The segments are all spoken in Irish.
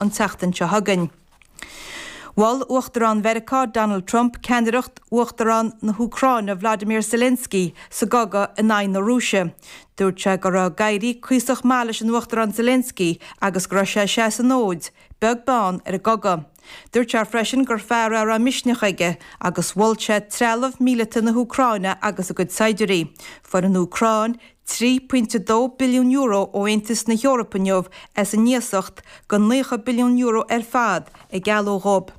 An tseachtain seo chugainn. Mhol Uachtarán Mheiriceá Donald Trump ceannaireacht Uachtarán na hÚcráine Vladimir Zelensky sa gcogadh in aghaidh na Rúise. Dúirt sé go raibh ag éirí cuíosach maith leis an Uachtarán Zelensky agus go raibh sé ag seasamh an fhóid, beag beann ar an gcogadh. Dúirt sé freisin gur fear é a raibh misneach aige agus mhol sé trealamh míleata na hÚcráine agus a gcuid saighdiúirí. Fuair an Úcráin €3.2 billiún ó Aontas na hEorpa inniu as an iasacht de €90 billiún ar fad a gealladh dhóibh.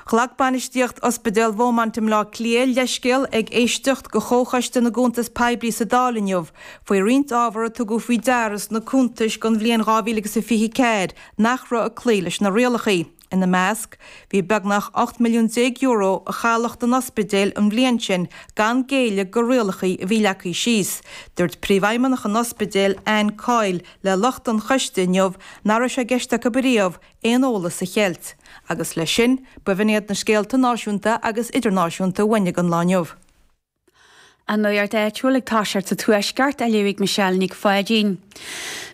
Ghlac bainistíocht Ospidéal Bheaumont i mBleá Cliath leithscéal ag éisteacht do Chomhchoiste na gCuntas Poiblí sa Dáil inniu faoi roinnt ábhar a tugadh faoi deara sna cuntais don bhliain 2024 nach raibh ag cloí leis na rialacha. Ina measc, bhí beagnach €18 milliún a chailleadh don ospidéal an bhliain sin gan géilleadh go rialacha a bhí leagtha síos. Dúirt Príomhfheidhmeannach an ospidéil, Anne Coyle, le lucht an choiste inniu nach raibh sé i gceist acu ariamh aon eolas a cheilt. Agus leis sin, b'in iad na scéalta náisiúnta agus idirnáisiúnta uainn don lá inniu. An nuacht áitiúil ag toiseacht sa Tuaisceart á léamh ag Michelle Nic Pháidín.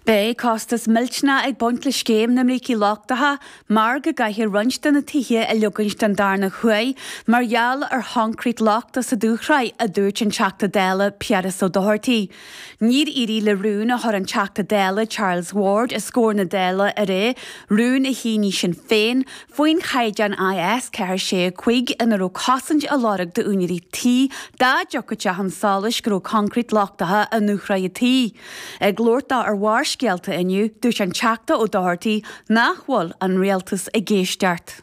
Beidh costas millteanach ag baint le scéim na mbrící lochtacha mar go gcaithfear roinnt de na tithe a leogaint den darna huair mar gheall ar choincréit lochtach sa dúshraith, a dúirt an Teachta Dála Piaras Ó Dochartaigh. Níor éirigh le rún a chuir an Teachta Dála Charles Ward os comhair na Dála aréir, rún a shínigh Sinn Féin, faoin chaighdeán IS 4 6 5 ina raibh cosaint á lorg d'úinéirí tí dá dtiocfadh sé chun solais go raibh coincréit lochtacha i ndúshraith an tí. Ag labhairt dó ar Bharrscéalta inniu, dúirt an Teachta Ó Dochartaigh nach bhfuil an Rialtas ag éisteacht.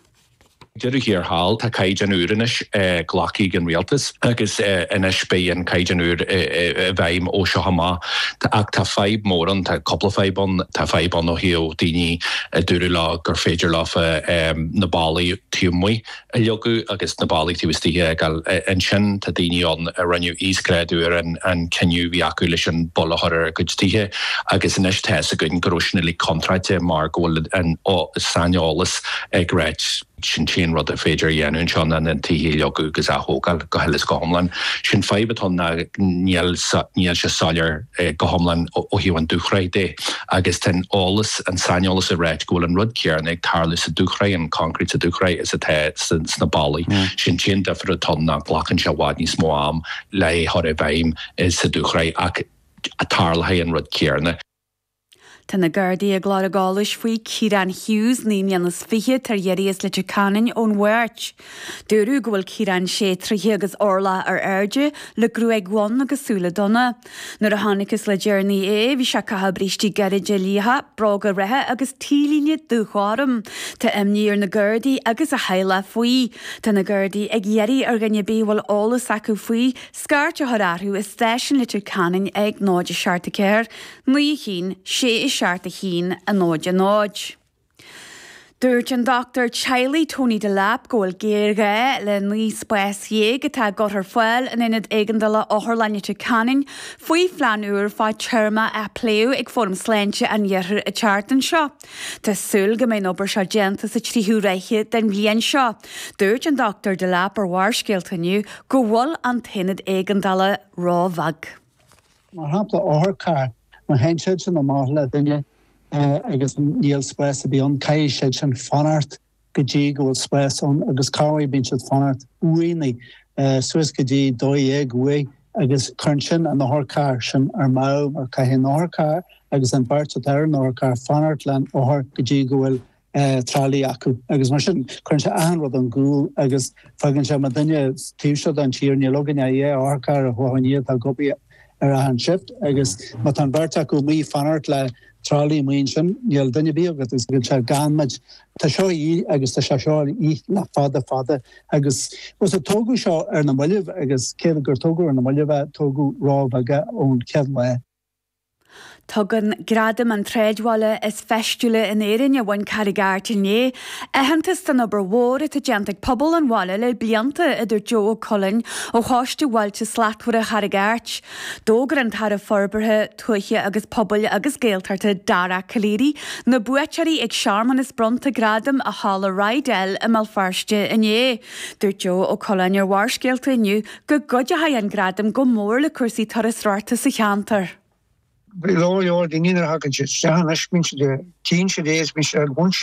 Deireadh thiar thall, tá caighdeán úr anois glactha ag an rialtas agus anois beidh an caighdeán úr i bhfeidhm ó seo amach. Ach tá fadhb mór ann, tá cúpla fadhb ann. Tá fadhb ann ó thaobh daoine a dúradh leo gur féidir leofa na ballaí taobh amuigh a leagadh agus na ballaí taobh istigh a fhágáil. Ansin tá daoine ann a rinneadh íosghrádú ar an cinneadh a bhí acu leis an bpoll a chur ar a gcuid tithe agus anois tá fhios againn go raibh sin uilig contráilte mar go bhfuil an saineolas ag ráit sin t-aon rud ar féidir a dhéanamh anseo ná na tithe a leagadh agus a ath-thógáil go huile is go hiomlán. Sin fadhb atá ann ná níl níl sé soiléir go hiomlán ó thaobh an dúshraith de agus tá an eolas, an saineolas ag ráit go bhfuil an rud céanna ag tarlú sa dúshraith, an concrete sa dúshraith is atá sna ballaí. Sin t-aon difear atá ann ná glacann sé i bhfad níos mó am le é chur i bhfeidhm sa dúshraith ach tarlóidh an rud céanna. Tá na Gardaí ag lorg eolais faoi Ciarán Hughes, 29 mbliana, atá ar iarraidh as Leitir Ceanainn ón Mháirt. Dúradh go bhfuil Ciarán sé troithe agus orlach ar airde, le gruaig dhonn agus súile donna. Nuair a chonacthas le deireanaí é, bhí sé ag caitheamh brístí gairide liatha, bróga reatha agus T-líne dúghorm. Tá imní ar na Gardaí agus a theaghlach faoi. Tá na Gardaí ag iarraidh ar dhuine ar bith a bhfuil eolas acu faoi, scairt a chur orthu i stáisiún Leitir Ceanainn ag 0 7 4 9 1 6 7 1 0 0. Dúirt an dochtúir teaghlaigh Tony Delap go bhfuil géarghá le 19 spás atá á gcur ar fáil in Aonad Éigeandála Otharlann Leitir Ceanainn faoi phlean úr fadtéarma a pléadh ag Fóram Sláinte an Iarthair an tseachtain seo. Tá súil go mbeidh an obair seo déanta sa tríú ráithe den bhliain seo. Dúirt an Dr Delap ar Bharrscéalta inniu go bhfuil an t-aonad éigeandála róbheag. Mar shampla, otharcharr, má théann siad sin amach le duine agus níl spás ar bith ann, caithfidh siad sin fanacht go dtí go bhfuil spás ann agus corruair bíonn siad fanacht uaighnigh suas go dtí 12 uair agus cuireann sin an otharcharr sin ar meadh mar caithfidh an otharcharr agus an bheirt atá ar an otharcharr fanacht leis an othar go dtí go bhfuil tralaí acu agus mar sin cuireann sé achan rud ón gcúl agus fágann sé mar duine taobh seo den tír níl againn ach dhá otharcharr a theacht aniar atá ag obair ar achan shift agus má tá an bheirt acu amuigh ag fanacht le tralaí amuigh ansin níl duine ar bith agat agus fágann sé gan muid. Tá seo a dhíth agus tá sé seo a dhíth le fada fada agus bhuel so tógadh seo ar na mallaibh agus cé gur tógadh ar na mallaibh é tógadh róbheag é ón chéad lá. Tugann Gradaim an tSráidbhaile is Feistiúla in Éirinn, a bhain Carraig Airt inné, aitheantas don obair mhór atá déanta ag pobal an bhaile le blianta, a dúirt Joe Ó Coileáin ó Choiste Bhailte Slachtmhara Charraig Airt. D'fhógair an tAire Forbartha Tuaithe agus Pobail agus Gaeltachta Dara Calleary na buaiteoirí ag searmanas bronnta gradam i Halla Rydell i mBéal Feirste inné. Dúirt Joe Ó Coileáin ar Bharrscéalta inniu go gcuideoidh an gradam go mór le cúrsaí turasóireachta sa cheantar. leor leor daoine nuair a thagann siad isteach anois, bíonn siad, tchíonn siad é is bíonn siad ag baint.